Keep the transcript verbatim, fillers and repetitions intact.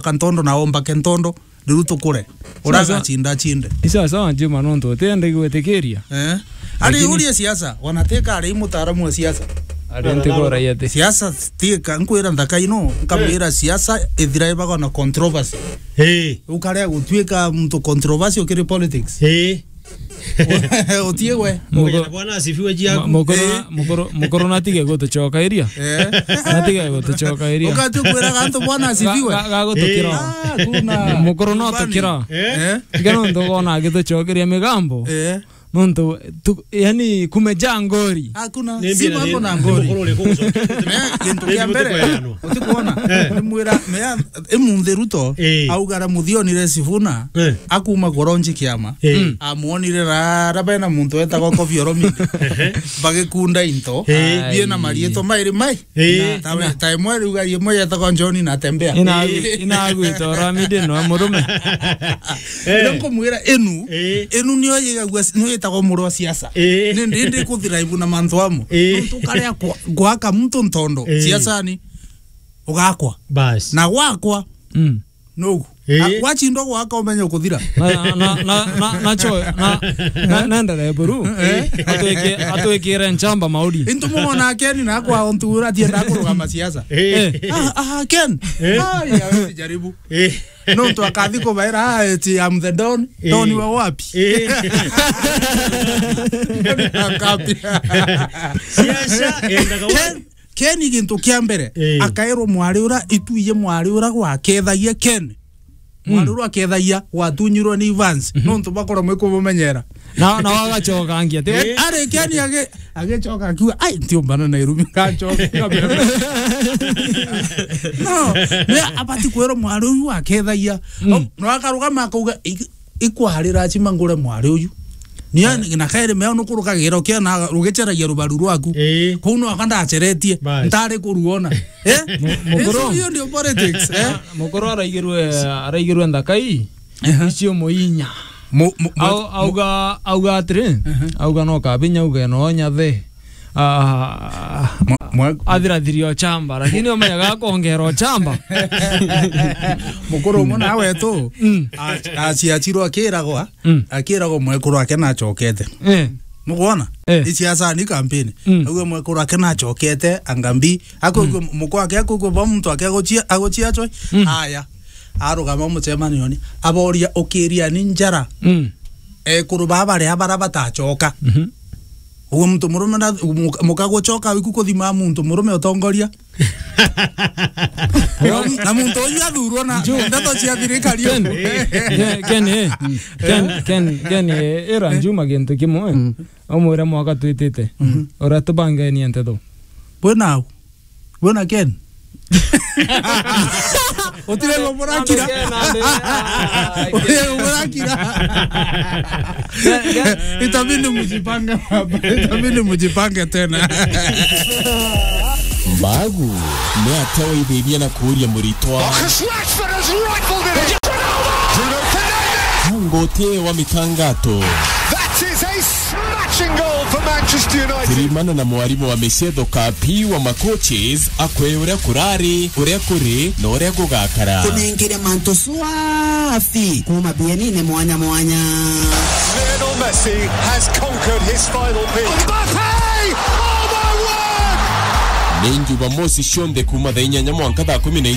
kantondo na ombake ntondo, riu tukure. Uraga chinda chinde. Isa sawa, Juma, nontu utiende gwitikiria. Eh? Ari urie siasa, wanateka ari mutaaramu wa siasa. Ari ntigora yete. Siasa tieka, nkwira nthaka ino, nkamwira siasa ithira ibaga na controversy. Eh. Ukarea gutuika mtu controversial kiri politics. Eh. Utie gwe. Mukuru, bwana asifiwe jiaku. Mukuru, eh, mukuru, mukuru natige gutucokairia. Eh. Natige gutucokairia. Ukati kwiraga antu bwana asifiwe. Ga-, ga-, gagutukira. Eh. Ah, kuna. Mukuru no tukira. Eh. Tiga nontu wona agitucokeria migambo. Eh. Nontu tu, yani, kumejaa ngori. Hakuna. Ni simu mbira ako ni na ngori. Mukuru uri kugucokia. Eh, kintu kia mbere. Utikuona? Eh. Nimwira, mea, imunthi Ruto, eh, augara muthionire Sifuna, eh, akuma kuronji kiama. Eh. Mm. Amuonire rara bena muntu wetagwa Koffi Olomide. Ehe. Bagikunda into. Eh. Biena marietwa mairi mai. Eh. Tawe, tawe mwe riuga yemwe yetagwa John Natembea. Ina, eh, ina agwita Olomide no murume. Eh. Ndio nkumwira inu, eh, inu niyo yigagua, niyo yetagwa muru wa siasa. Eh. Ni ndi, ndi kuthira ibu na mantu amo. Eh. Nontu karia kwa, gwaka muntu ntondo, eh, siasani, ugakwa. Bas. Na gwakwa, mm, nugu. Eh. A, wachindwa gwaka umenye ukuthira. Na, na, na, na, na cho, na, na, naendelee buru. Eh. Atwike-, atwikire nchamba mauri. Intu mumona Ken na kwa ontu ura tienda kurugama siasa. Eh. Ah, ah, Ken. Eh. Ah, ya, wewe jaribu. Eh. Nontu akathi kubaira, ah, eti, I'm the Don. Eh. Don wa wapi? Eh. Don wa wapi? Siasa, endaga wa- Ken, Ken gintu kia mbere, eh, akairwo mwari ura, ituiye mwari ura gwakethagia Ken. Mm. Mwari ura akethagia gwatunyirwe ni Evans. Mhm. Nontu bakora mwikumumenyera. Na, na wagacoka angia, ti? Eh. Ari Ken agi-, agicoka akiuga, "Ai, ntiumbana na irumi, ngacoka." No, ni abati kwirwo mwari uyu akethagia. Mm. O, no akarugama akauga, "Iki-, ikwarira achima ngure mwari uyu." Ni ya, eh, na kairi mea nukurukagira ukia na ugiceragia rubaru rwaku. Eh. Kuu no aka ndaceretie, bas, ntari kuruona. Eh? Mu-, mukuru. Icio hiyo ndio politics, eh? Mukuru araigirwe, araigirwe nthakai. Ehe. Icio muinya. Mu-, mu-, mu-, au-, auga, auga atiri, ehe, auga no kabinya, auga no nyathe. Ah, mwa-, mwa-, athirathiri ochamba, lakini umenyaga akongera ochamba. Mukuru umwe nawe tu, mm, a-, aciacirwo akiragwa, mm, akiragwa mwekuru wake nachokete. Eh. Nukwona? Eh. Isiasa ni campaign. Mm. Auga mwekuru wake nachokete, angambi. Akwigua, mm, mukwa wake akwigua ba muntu wake aguchia, aguchia chwe. Mm. Aya. Arugama muchemanioni. Aboria ukiria ni njara. Mm. Ekuru baba ria bara batachoka. Mhm. Uwe muntu murume na, muka-, muka guchoka wiku kuthima muntu murume utongoria. Na muntu uyu athurwo na ndeto cia thirikari. Ken, Ken, Ken, eh. Ken, Ken, Ken, eh, ira Juma gintu kimwe. Mm. Umwire mwaka twitite. Mhm. Uria tubangenie nteto. Bwe nau. Bwe na Ken. Utire murakira. Ken, ande, ah, Ken. Utire murakira. Ken, Ken. Itabidi mjipange hapa. Itabidi mjipange tena. Mbagu, ni atia waithithia na kuuria muritwa? Marcus Rashford has rifled it in. Bruno Fernandes. Nguti wa mitangato. That is a smashing goal for Manchester United. Kirimana na mwarimu wa micetho Kapi wa macoaches, akwe uria kurari, uria kuri, na uria gugakara. Kunengere mantu swafi kuma bienine mwanya mwanya. Lionel Messi has conquered his final pitch. Mbappe! Oh my word! Ni Jumamosi cionthe kuma thaa inyanya mwanka thaa kumi na